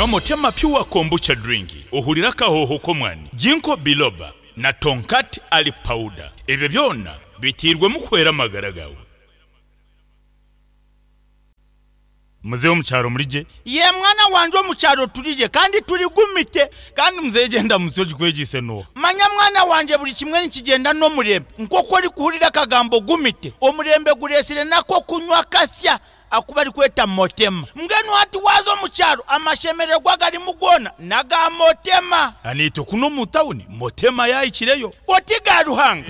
Motema Pure Kombucha Drink ohurire akahooho k'omwani, Ginkgo Biloba na Tongkat Ali Powder. Ebyo byona biteirwemu kuhwera amagara gaawe. Muzeeyi omu kyaro muri gye? Yee mwana wangye omu kyaro turi gye kandi turi gumite. Kandi muzeeyi gyenda musyo ogikwegyeise n'oha? Manya mwana wangye buri kimwe nikigyenda n'omurembe. Nk'oku orikuhurira akagambo gumite, omurembe gureetsire n'ak'okunywa kasya aku barikweta Motema. Mbwenu hati waaza omu kyaro amashemererwa agarimu goona n'aga Motema. Naitwe kunu omu tawuni Motema yaahikireyo. Oti ga Ruhanga.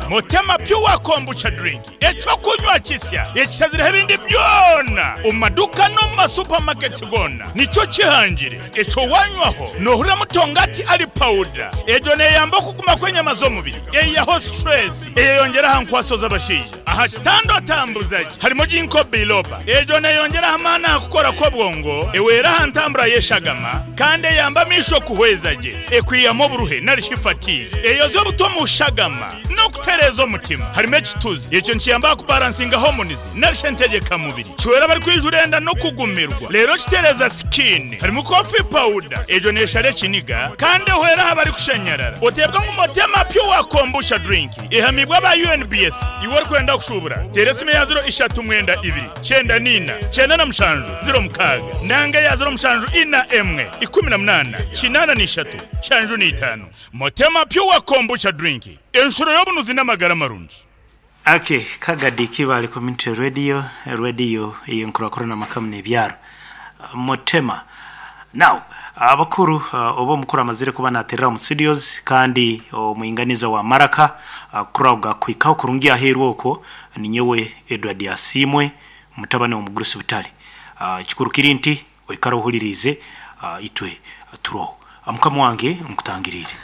Motema Pure Kombucha Drink, eky'okunywa kisya ekishazireho ebindi byona omu maduuka n'omu ma supermarkets goona nikyo kihangire. Ekyo wanywaho nohuriramu tongati ali powder. Egyo neyamba okuguma kw'enyama z'omubiri, eyihaho stress, eyeyongyera aha nkwaso z'abashaija. Aha kitanda otambuza gye harimu Ginkgo biloba. Egyo neeyongyera aha maani aha kukora kw'obwongo, ehwera aha ntambura y'eshagama, kandi eyamba amaisho kuhweza gye. Ekwihamu oburuhe nari shi fatigue. Eyoza obuta omu shagama n'okutereeza omutima. Harimu ekituzi. Ekyo nikiyamba aha kubaransinga hormones nari shi entegyekamubiri. Kihwera abarikwijura enda n'okugumirwa. Reero kitereeza skin. Harimu coffee powder. Egyo neeshara ekiniga kandi ehwera aha barikushanyarara. Oteebwa ngu Motema Pure Kombucha Drink. Ehamiibwe aba UNBS. Iwe orikwenda kushuubura, teera esimu eya ziro ishatu mwenda ibiri, kyenda n'ina, kyenda na mushanju, ziro mukaaga, nanga eya ziro mushanju ina emwe, 18, 83, nshanju n'itaano. Motema Pure Kombucha Drink, enshuro y'obunuzi n'amagara marungi. Ake Kagadi Kibaale Community Radio, radiyo ey'enkurakurana amaka n'ebyaro. Motema. Now, abakuru oba omukuru amazire kuba naterera omu studios kandi omwinganiza wa Maraka kuraga kuhikaho kurungi aheeru okwo ninyowe Edward Asiimwe mutabani w'omugurusi Butare. Ekikuru kiri nti oikare ohuririize itwe turoho. Mukama wange nkutangiriire.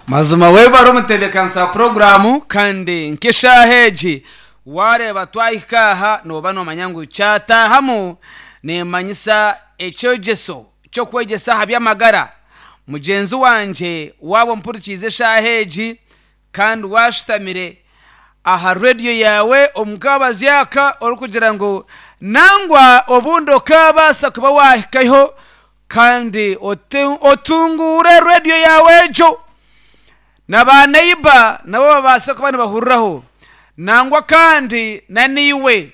Mazima webare omutebekanisa wa puroguramu kandi nk'eshaaha egi Waareeba twahika aha nooba noomanya ngu kyataahamu neemanyisa ekyegyeso ky'okwegyesa aha by'amagara. Mugyenzi wangye waaba ompurikiize eshaaha egi kandi waashutamire aha rediyo yaawe omu kaabazi aka orikugira ngu nangwa obundi okaabaasa kuba waahikaho kandi otunguure rediyo yaawe egyo. Na baaneiba nabo babaase kuba nibahuriraho. Nangwa kandi na naiwe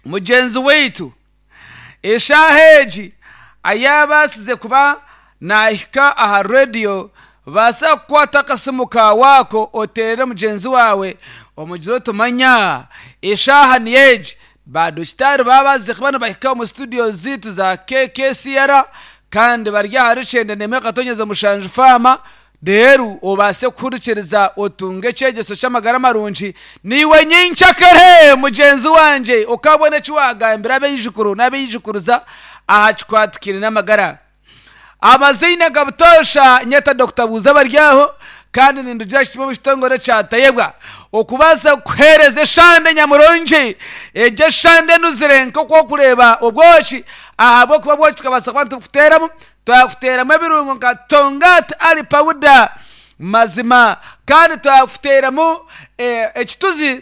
mugyenzi waitu, eshaaha egi ayaabaasize kuba naahika aha rediyo, baasa kukwata akasimu kaawe ako oteerere mugyenzi waawe omugire oti manya eshaaha niyo egi, baadokitaari baabaasize kuba nibahika omu situdiyo zaitu za KKCR kandi bari ahari kyenda n'emwe akatonyeza mushanju faama. Reero obaase kuhurikiriza otunge ekyegyeso ky'amagara marungi. Naiwe nyenkyakare mugyenzi wangye okaabona eki waagambira abaijukuru n'abaijukuruza aha kikwatikaine n'amagara. Amaziina ga butoosha nyeta Dokita Buuza Baryaho kandi nindugira kimwe omu kitongore kya Tayebwa okubaasa kukuheereza eshande nyamurungi. Egyo eshande enuzire nk'oku orikureeba obwoki ahabw'okuba obwoki tukabaasa kuba nitubukuteeramu Twakuteeramu ebirungo nka Tongat Ali Powder mazima kandi twakuteeramu ekituzi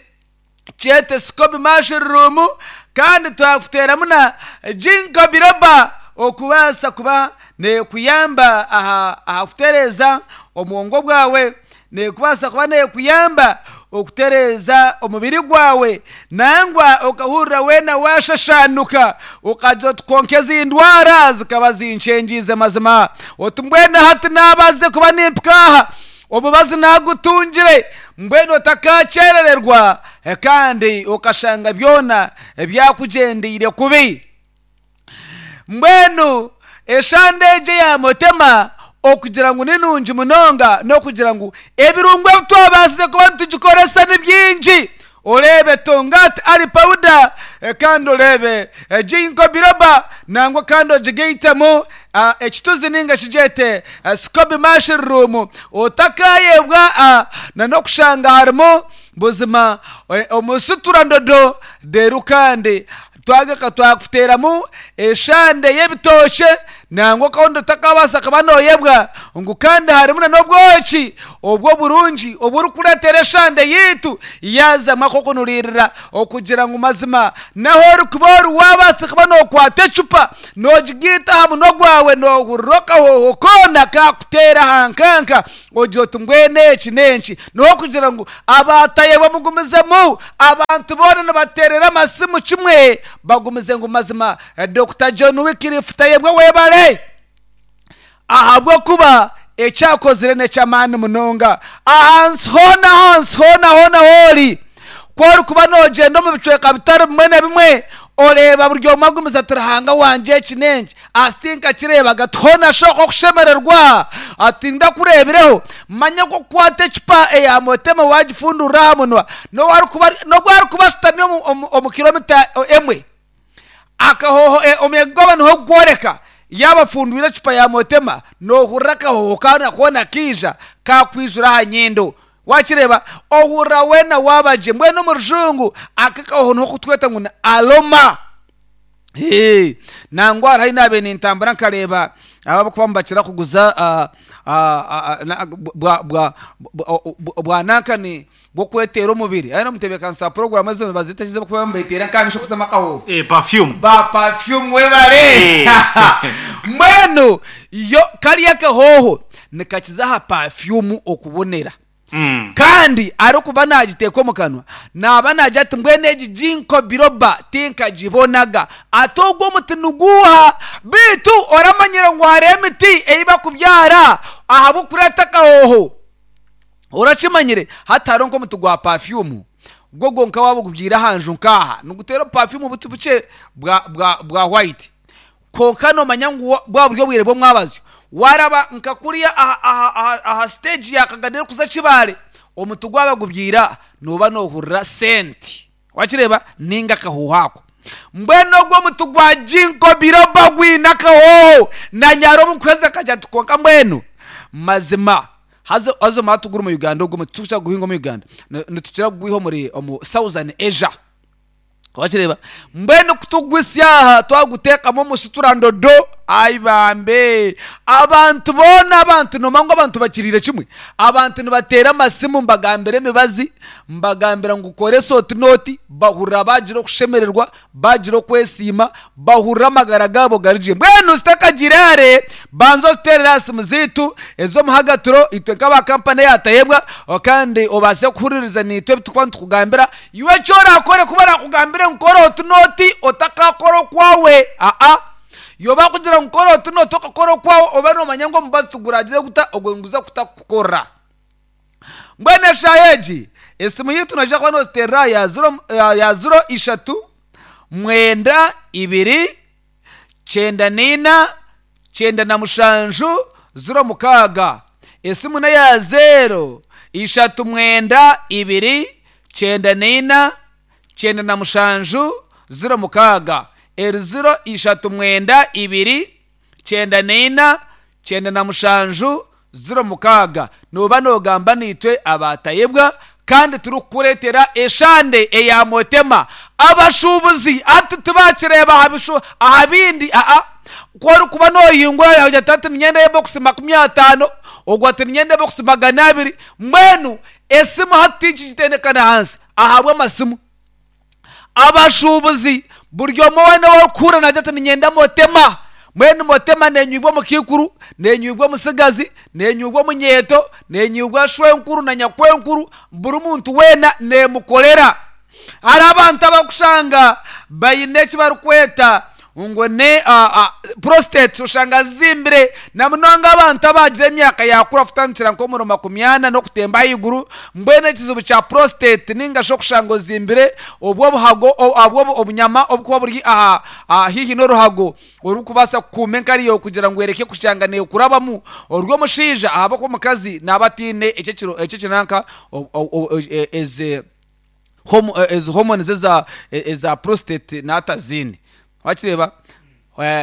kyete Scoby Mushroom kandi twakuteeramu na Ginkgo Biloba okubaasa kuba neekuyamba aha kutereeza obwongo bwawe. Neekubaasa kuba neekuyamba okutereeza omubiri gwawe nangwa okahurira weena waashashaanuka okagira oti kwonka ezi ndwara zikaba zinkyengiize mazima. Oti mbwenu hati naabaasize kuba nimpika aha, omubazi naagutungire, mbwenu otakaakyerererwa kandi okashanga byona byakugyendeire kubi. Mbwenu eshande egi eya Motema okugira ngu ni nungi munonga n'okugira ngu ebirungo ebi twabaasize kuba nitugikoresa ni bingi. Oreebe Tongat Ali Powder kandi oreebe Ginkgo Biloba nangwa kandi ogigaitemu ekituzi ninga shi gyete Scoby Mushroom. Otakaayebwa n'okushanga harimu buzima omusitura-ndodo reero kandi Twagaruka twakuteeramu eshande y'ebitookye Nangwa okahurira otakabaasa kuba nooyebwa ngu kandi harimu na n'obwoki obwo oburungi oburikureetera eshande yaitu yaazamu ak'okunuriirira okugira ngu mazima n'ahu orikuba ori waabaasa kuba nookwata ecupa noogigaita aha munwa gwawe noohurira akahooho koona kaakuteera aha nkanka ogira oti mbwenu eki n'enki. N'okugira ngu abaatayebwa mugumizemu abantu boona nibateerera amasimu kimwe bagumize ngu mazima Dokita John Wycliffe Tayebwa webare ahabw'okuba eki akozire n'eky'amaani munonga. Ahansi hoona ahansi hoona hoona hoori, ku orikuba noogyenda omu bicweka bitari bimwe na bimwe oreeba buri omwe agumize ati Ruhanga wangye eki n'enki asi tinkakireebaga ati hoona shi okwo okushemererwa ati ndakureebireho manya ku okukwata ecupa eya motema waagifundurira aha munwa n'obu arikuba ashutami omu kilomita emwe Akahooho omuyaga gwaba niho gukworeka yaaba afundwire ecupa ya motema nohurira akahooho koona koona kaija kakwijura aha nyindo. Wakireeba? Ohurira weena waaba gye. Mbwenu omu rujungu aka akahooho niho kutweta ngu ni aroma. Ee, nangwa hariho ahi naabaire nintambura nkareeba aba abarikuba nibakira kuguza bwa bwa bwa nankani bw'okweteera omubiri. Aye n'omutebeekanisa wa puroguraamu ezo nibazeeta ki ez'okuba nibeeteera nk'aha maisho kuzamu akahooho? Eh, perfume. Ba perfume webale! Eh. Mbwenu yo kariya akahooho nikakiza aha perfume okubonera. Kandi arikuba naagiteeka omu kanwa, naaba naagira ati mbwenu egi ginkgo biloba tinkagibonaga. Ati ogwo omuti niguuha? Beitu oramanyire ngu hariho emiti ei bakubyara ahabw'okureeta akahooho? Orakimanyire? Hati hariho nk'omuti gwa pafyumu, gwo gwonka waaba ogubyaire aha nju nk'aha, niguteera obupafyumu buti bukye bwa, bwa, bwa white. Kwonka noomanya ngu bwaba buri obwire bw'omwabazyo, waaraba nka kuriya aha, aha, aha, aha siteegi ya Kagadi erikuza Kibaale, omuti gwaba gubyaire aha, nooba noohurira senti. Wakireeba? Nainga akahooho ako. Mbwenu ogwo omuti gwa ginkgo biloba gwine akahooho. Naanye hariho obu nkuheza nkagira nti kwonka mbwenu mazima haza haza omara tugura omu Uganda ogwo omuti titukukira kuguhinga omu Uganda. Nitukira kugwiha omuri omu Southern Asia. Wakireeba? Mbwenu ku tugwitsya aha twaguteekamu omusutura ndodo, ai bambe! Abantu boona abantu noomanya ngu abantu bakiriire kimwe? Abantu nibateera amasimu mbagambira emibazi, mbagambira ngu koresa oti n'oti, bahurira baagira okushemererwa, baagira okwesiima, bahurira amagara gaabo gari gye. Mbwenu zitakagiire hare, banza oziteerere aha simu zaitu ez'omuhagatiro itwe nk'aba kampani eya Tayebwa kandi obaase kuhuririza naitwe ebi turikuba nitukugambira. Iwe eki oraakore ku barakugambire ngu kora oti n'oti, otakaakora okwawe. Aa. Iwe baakugira ngu kora oti n'oti okakora okwawe, obe noomanya ngu omubazi tiguragire guta, ogwo niguza kutakukorera. Mbwenu eshaaha egi, esimu yaitu noija kuba nooziteerera aha ya ziro, ya ziro ishatu, mwenda ibiri, kyenda naina, 97, 06. Esimu n'eya zeero ishatu mwenda ibiri, 94, 97, 06. Eri ziro ishatu mwenda ibiri, 94, 97, 06. Nooba noogamba naitwe abaatayebwa kandi turikukureetera eshande eya Motema. Abashuubuzi hati tibaakireeba aha bishu aha bindi aa. Ku orikuba noohingura yaagira ati hati niinyenda ebokisi 50, ogwo ati niinyenda ebokisi 200. Mbwenu esimu hati tinkigitendekana ahansi ahabw'amasimu. Abashuubuzi buri omwe weena ou orikuhurira naagira ati niinyenda Motema. Mbwenu Motema neenywibwa omukaikuru, neenywibwa omutsigazi, neenywibwa omunyeeto, neenywibwa shwenkuru na nyakwenkuru, buri muntu weena neemukorera. Hariho abantu abarikushanga baine eki barikweta ngu ni prostate oshanga zizimbire na munonga abantu abaagira emyaka yaakura kutandikira nk'omuri makumyana n'okutemba ahaiguru mbwenu ekizibu kya prostate ninga shi okushanga ozimbire obwo obuhago obwo obunyama obukuba buri aha haihi n'oruhago orurikubaasa kukuuma enkari yaawe kugira ngu ereke kushanga neekurabamu ori omushaija ahabw'okuba omukazi naaba ataine ekyo ekinanka ezi ezi hormones eza eza prostate naaba ataziine. Wakireeba?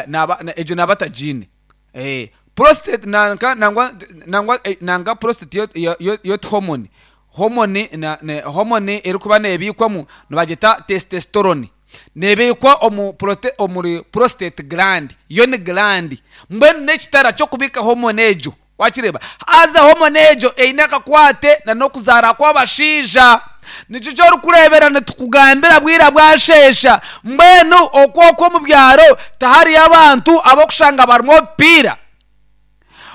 Naaba egyo naaba atagiine. Prostate nanka nangwa nangwa nanga prostate yo yo yo ti hormone. Hormone hormone erikuba neebiikwamu nibagyeta testosterone. Neebiikwa omu prote, omuri prostate gland. Yo ni gland. Mbwenu n'ekitara ky'okubiika hormone egyo. Wakireeba? Haza hormone egyo eine akakwate na n'okuzaara kw'abashaija. Nikyo eki orikureebera nitukugambira bwira bwasheesha. Mbwenu okwo okwo omu byaro tihariyo abantu ab'okushanga barimu obupiira?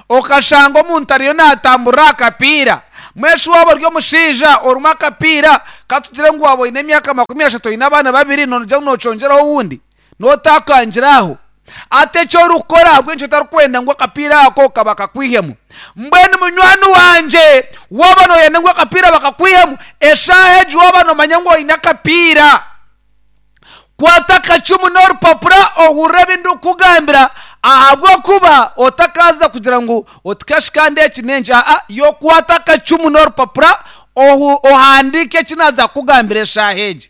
Okashanga omuntu ariyo naatamburira aha kapiira. Mbwenu shi waaba ori omushaija orimu akapiira, ka tugire ngu waaba oine emyaka 30 oine abaana babiri noogira ngu nookyongyeraho owundi? Nootakangira aho. Hati eki orikukora ahabw'enki otarikwenda ngu akapiira ako ka bakakwihemu? Mbwenu munywani wangye, waaba nooyenda ngu akapiira bakakwihemu, eshaaha egi waaba noomanya ngu oine akapiira, Kwata akacumu n'orupapura ohurire ebi ndikukugambira, ahabw'okuba otakaaza kugira ngu oti kashi kandi eki n'enki. Aa, iwe kwata akacumu n'orupapura ohu ohandiike eki naaza kukugambira eshaaha egi.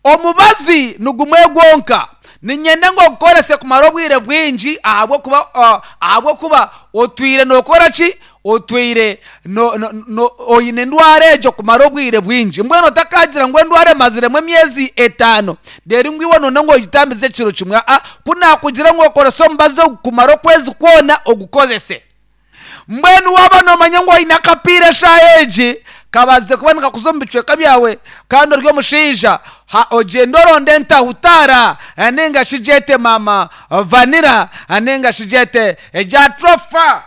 Omubazi nigumwe gwonka. Niinyenda ngu ogukorese kumara obwire bwingi ahabw'okuba ahabw'okuba otwire nookora ki? Otwire no, no, no, oine endwara egyo kumara obwire bwingi. Mbwenu otakaagira ngu endwara emaziremu emyezi etaano, reero ngu iwe noona ngu ogitambize ekiro kimwe. Aa, ku naakugira ngu okorese omubazi ogu kumara okwezi kwona, ogukozese. Mbwenu waaba noomanya ngu oine akapiira eshaaha egi, kabaase kuba nikakuza omu bicweka byawe kandi ori omushaija, ha ogyende oronde entahutaara nainga shi gyete maama vanira nainga shi gyete egyatrofa.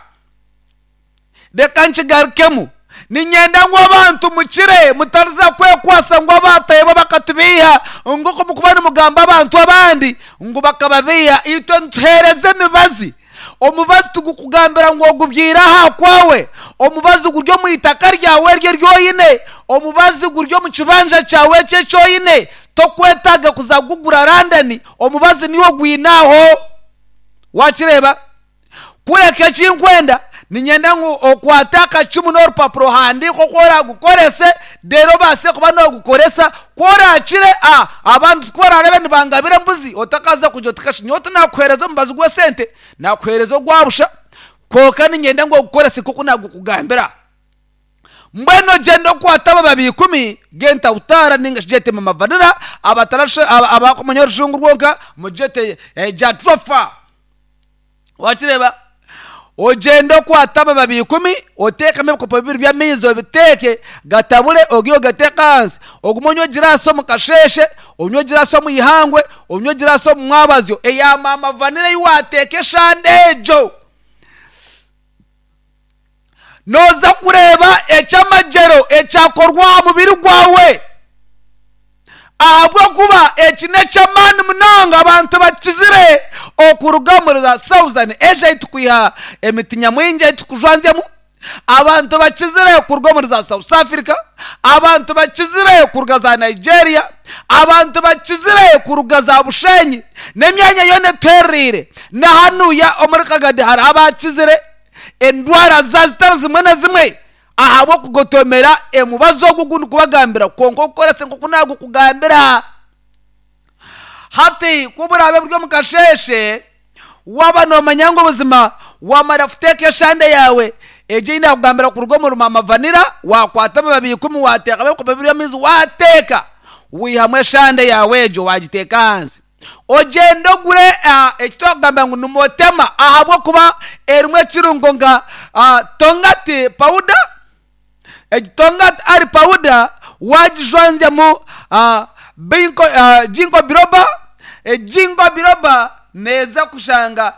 Reka nkigarukemu. Niinyenda ngu abantu mukire, mutariza kwekwasa ngu abaatayebwa bakatubeiha, nk'oku mukuba nimugamba abantu abandi ngu bakababeiha. Itwe nituheereza emibazi. Omubazi tigukugambira ngu ogubyaire aha kwawe. Omubazi guri omu itaka ryawe eryo eri oine. Omubazi guri omu kibanja kyawe ekyo eki oine. Tokwetaaga kuza kugugura London. Omubazi niiwe ogwine aho. Waakireeba? Kureka eki nkwenda, niinyenda ngu okwate akacumu n'orupapura ohandiike oku oraagukorese, reero obaase kuba noogukoresa. Ku oraakire, a abantu ku baraareebe nibangabira embuzi, otakaaza kugira oti kashi nyowe tinaakuheereza omubazi gw'esente, naakuheereza ogwa busha. Kwonka niinyenda ngu ogukorese nk'oku naagukugambira. Mbwenu ogyende okwate abababi ikumi g'entahutaara nainga shi gyete mama vanira, abatarasho abakumanya orujungu rwonka mugyete jatropha. Wakireeba? Ogyende okwate amababi ikumi, oteekemu ebikopo bibiri by'amaizi obiteeke, gatabure ogihe ogateeke ahansi. Ogume onywe egiraasi omu kasheeshe, onywe egiraasi omu ihangwe, onywe egiraasi omu mwabazyo eya maama vanira ei waateeka eshande egyo. Nooza kureeba eky'amagyero ekyakorwa aha mubiri gwawe. Ahabw'okuba eki n'eky'amaani munonga abantu bakizire okuruga omuri za Southern Asia ahu turikwiha emiti nyamwingi ei turikujwanzyamu, abantu bakizire kuruga omuri za South Africa, abantu bakizire kuruga za Nigeria, abantu bakizire kuruga za Bushenyi n'emyanya yoona etuherereire. Na hanuya omuri Kagadi hariho abakizire endwara za zitari zimwe na zimwe. Ahabw'okugotomera emubazi ogu ogu ndikubagambira, kwonka ogukorese nk'oku naagukugambira. Hati ku buraabe buri omu kasheeshe, waaba noomanya ngu buzima waamara kuteeka eshande yaawe egyo ei naakugambira kuruga omuri maama vanira, waakwata amababi ikumi waateekamu ebikopo bibiri by'amaizi waateeka, waihamu eshande yaawe egyo waagiteeka ahansi. Ogyende ogure eki twakugambira ngu ni motema ahabw'okuba erimu ekirungo nka tongati pawuda. Egi tongati ari pawuda waagijwanzyamu jinko biroba, egi jinko biroba neeza kushanga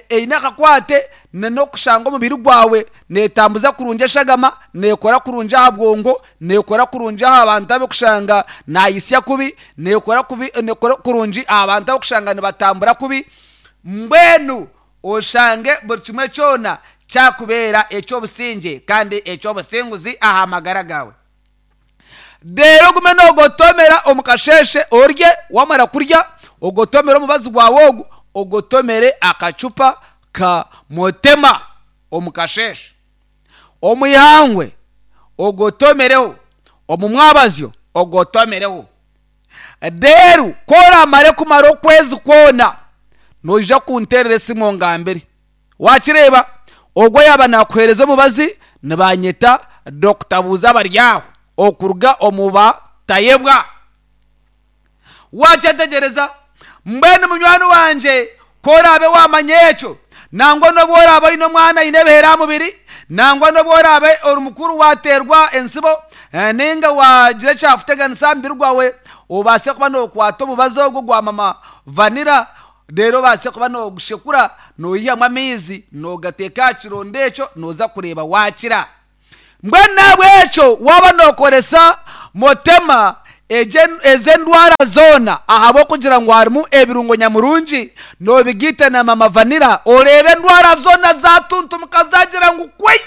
eine akakwate n'okushanga omubiri gwawe neetambuza kurungi eshagama, neekora kurungi aha bwongo, neekora kurungi aha bantu abarikushanga naayitsya kubi, Neekora kubi, neekora kurungi aha bantu abarikushanga nibatambura kubi, mbwenu oshange buri kimwe kyona kyakubeera eky'obusingye kandi eky'obusinguzi aha magara gaawe. Reero ogume noogotomera omu kasheeshe orye, waamara kurya ogotomere omubazi gwawe ogu, ogotomere akacupa ka Motema omu kasheeshe. Omu ihangwe ogotomereho, omu mwabazyo ogotomereho. Reero ku oraamare kumara okwezi kwona, noija kunteerera esimu ongambire. Waakireeba? Ogwo yaaba naakuheereza omubazi, nibaanyeta Dokita Buuza Abaryaho okuruga omu Batayebwa. Waakyetegyereza? Mbwenu munywani wangye, ku oraabe waamanya ekyo, nangwa n'obu oraabe oine omwana aine ebihere aha mubiri, nangwa n'obu oraabe ori mukuru waateerwa entsibo, nainga waagira ekyakuteganisa aha mubiri gwawe, obaase kuba nookwata omubazi ogwo gwa mama vanira, reero obaase kuba noogushekura, noihamu amaizi, noogateeka aha kironda ekyo, nooza kureeba waakira. Mbwenu n'ahabw'ekyo waaba nookoresa Motema ezi endwara zoona ahabw'okugira ngu harimu ebirungo nyamurungi noobigaita na Mama Vanilla oreebe endwara zoona zaatuntumuka zaagira ngu kwei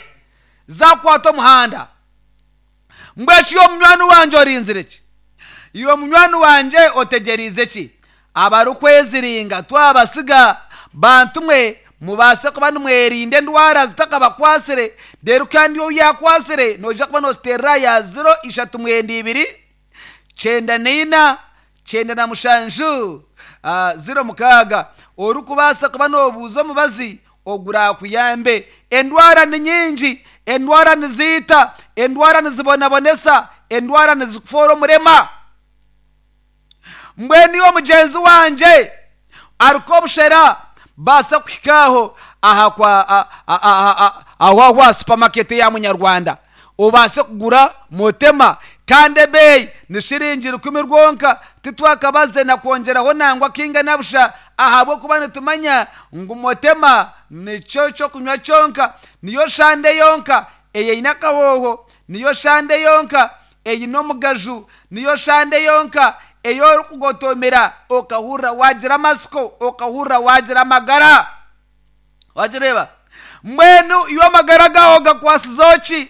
zaakwata omuhanda. Mbwenu shi iwe munywani wangye orinzire ki? Iwe munywani wangye otegyereize ki? Abarikweziringa twabasiga. Bantu mwe, mubaase kuba nimwerinda endwara zitakabakwasire, reero kandi ou yaakwatsire noija kuba nooziteerera aha ya ziro ishatu mwenda ibiri, kyenda na ina, kyenda na mushanju, ziro mukaaga. Orikubaasa kuba noobuuza omubazi oguraakuyambe. Endwara ni nyingi, endwara niziita, endwara nizibonabonesa, endwara nizikufoora omurema. Mbwenu iwe mugyenzi wangye arikwobushera baasa kuhika aho aha kwa aho aho aha supermarket eya munyarwanda obaase kugura motema kandi ebeeyi ni shiringi rukumi rwonka titwakabaze na kwongyeraho nangwa kaingana busha ahabw'okuba nitumanya ngu motema nikyo ky'okunywa kyonka niyo shande yonka eyeine akahooho niyo shande yonka Eine omugaju, niyo shande yonka ei orikugotomera okahurira waagira amatsiko, okahurira waagira amagara. Wagireeba? Mbwenu iwe amagara gaawe ogakwatsizeho ki?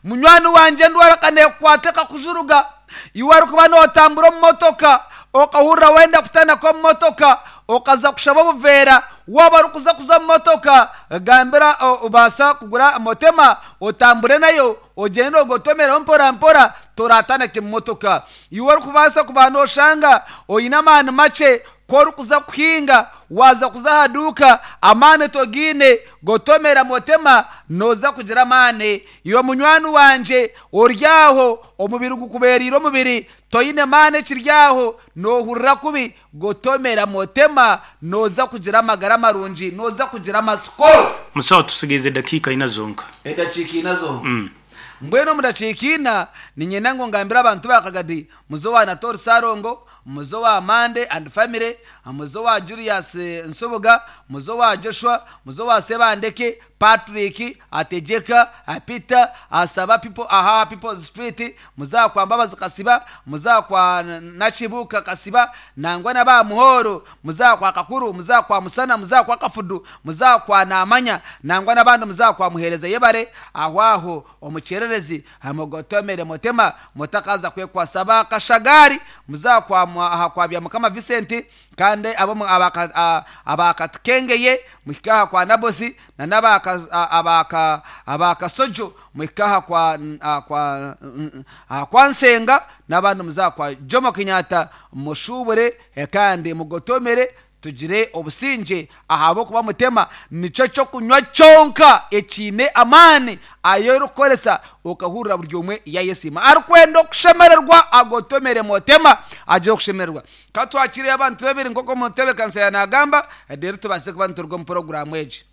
Munywani wangye endwara ka neekukwata ekakujuruga. Iwe orikuba nootambura omu motoka, okahurira wenda kutanaka omu motoka, okaza kushaba obuveera, waaba orikuza kuza omu motoka, gambira obaasa kugura motema otambure nayo, Ogyende ogotomereho mpora mpora, toratanake mu motoka. Iwe orikubaasa kuba noshanga oine amaani makye, ku orikuza kuhinga, waaza kuza aha duuka, amaani togaine, gotomera motema, noza kugira amaani. Iwe munywani wangye ori aho, omubiri gukubereire omubiri, toine maani ekiri aho, nohurira kubi, gotomera motema, noza kugira amagara marungi, noza kugira amatsiko. Musaho tusigaize edakiika ina zonka. Edakiika ina zonka. Mbwenu omu dakiika ina, niinyenda ngu ngambire abantu ba Kagadi, muze owa Anatoli Ssalongo, muze owa Mande and family, muze owa Julius Nsubuga, muze owa Joshua, muze owa Sebandeke, Patrick, Ategyeka, Peter, Asaba people aha People's Street, muze aha kwa Mbabazi Kasiba, muze aha kwa Nakibuuka Kasiba, nangwa na ba Muhooro, muze aha kwa Kakuru, muze aha kwa Musana, muze aha kwa Kafudu, muze aha kwa Naamanya, nangwa n'abandi muze aha kwa Muheereza Yebare, aho aho omu kyererezi, mugotomere Mutema, mutakaaza kwekwasa ba Kashagaari, muze aha kwa aha kwa Byamukama Vincent, kandi ab'omu aba aba Katikengeye, muhike aha kwa Nabosi, na n'aba aba aba Kasojo, muhike aha kwa aha kwa aha kwa Nsenga, n'abandi muze aha kwa Jomo Kenyatta, mushuubure kandi mugotomere tugire obusingye, ahabw'okuba Mutema nikyo ky'okunywa kyonka ekiine amaani ayi orikukoresa okahurira buri omwe yayesiima. Arikwenda okushemererwa agotomere Mutema agire okushemererwa. Ka twakiireyo abantu babiri nk'oku omutebeekanisa yaanagamba, reero tubaase kuba nituruga omu puroguraamu egi.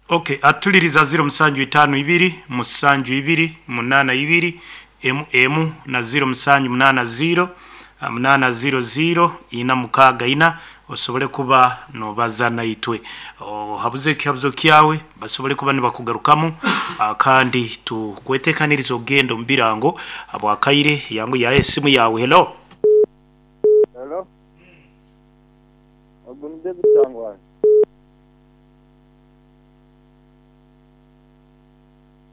Ok atuliriza ziro musanju itaano ibiri musanju ibiri munaana ibiri emu emu na ziro musanju munaana ziro munaana ziro ziro ina mukaaga ina osobole kuba nobaza naitwe ohabuze ekihabuzo kyawe basobole kuba nibakugarukamu kandi tukwetekanirize okugenda omu birango habwakaire yangu yaha esimu yawe hello. Hello. Ogu ni David Sangwani.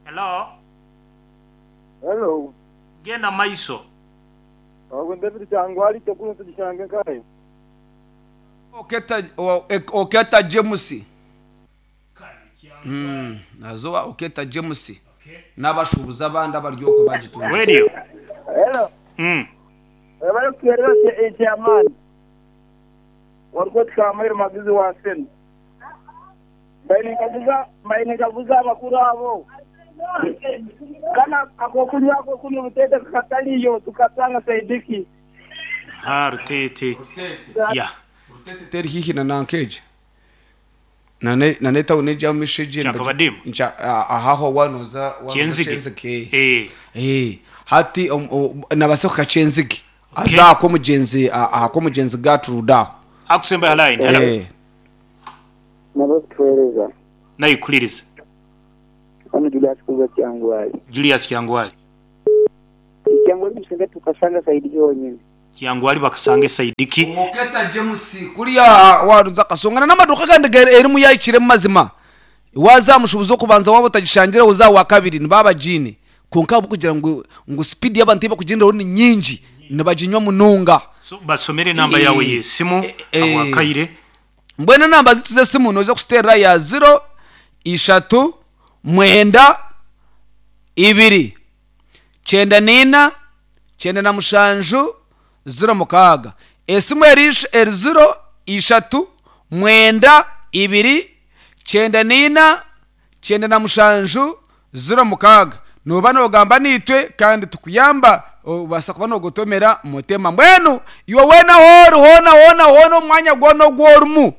Hello. Hello. Genda maiso. Ogu ni David Kyangwali Kyokunu tugishange nkahe? Oketa Oketa James. Nazowa Oketa James n'abashuubuzi abandi abari okwo bagitunga. Radio. Hello. Webale kutuhereza chairman. Orikwetwa Samuel Magizi wa Sena. Mbaire ninkaguza abakuru abo, Kana ak'okunywa ak'okunywa obuteete kakatariyo tukatanga saidi ki? Ha Rutete. Ya. Teri haihi na nanka egi na n'etawuni egi ey'omumaisho egi Kyakabadimu? Ahaho waanoza Kyenzige. Kyenzige. Hati nabaasa kuhika Kyenzige aze aha kw'omugyenzi aha kw'omugyenzi Gertrude aho. Akusemba aha line. Hello. Nabakutuhereza. Nayikuliriza. Hanu Julius kuruga Kyangwali. Julius Kyangwali. Kyangwali musinga tukasanga sayidi yonyine. Kyangwali bakasanga esayidi ki? Muketa James kuriya waruza Kasonga na n'amaduuka agandi erimu yahikiremu mazima. Waaza aha mushuubuzi w'okubanza waaba otagishangire oze aha wakabiri nibaba bagiine. Kwonka ahabw'okugira ngu ngu sipiidi y'abantu ei barikugyenderaho ni nyingi, nibaginywa munonga. So basomere enamba yaawe y'esimu ahabw'akaire. Mbwenu enamba zaitu z'esimu noija kuziteerera ya ziro, ishatu, mwenda, ibiri, kyenda naina, 97, 06. Esimu eri eri ziro, ishatu, mwenda, ibiri, 94, 97, 06. Nooba noogamba naitwe kandi tukuyamba obaasa kuba noogotomera Mutema. Mbwenu iwe weena ahu ori hoona hoona hoona omu mwanya gwona ogu orimu,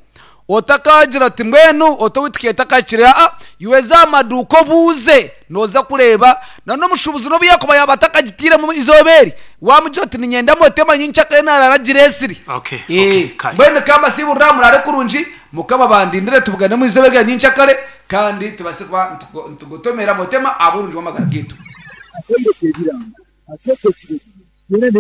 Otakaagira oti, Mbwenu oti owaitu keetakakire. Aa, iwe za aha maduuka obuuze, nooza kureeba. Na n'omushuubuzi n'obu yaakuba yaaba atakagitairemu eizooba eri, waamugira oti, Niinyenda motema nyenkyakare naaraara agireetsire. Okay, okay, kare. Mbwenu ka mbasiiburire aha muraare kurungi, Mukama abandindire tubugane omu izooba erya nyenkyakare, kandi tubaase kuba nitugotomera motema ahabw'oburungi bw'amagara gaitu. Akaire k'ebiranga, akeekyo ekiro, kyona n'emicungwa.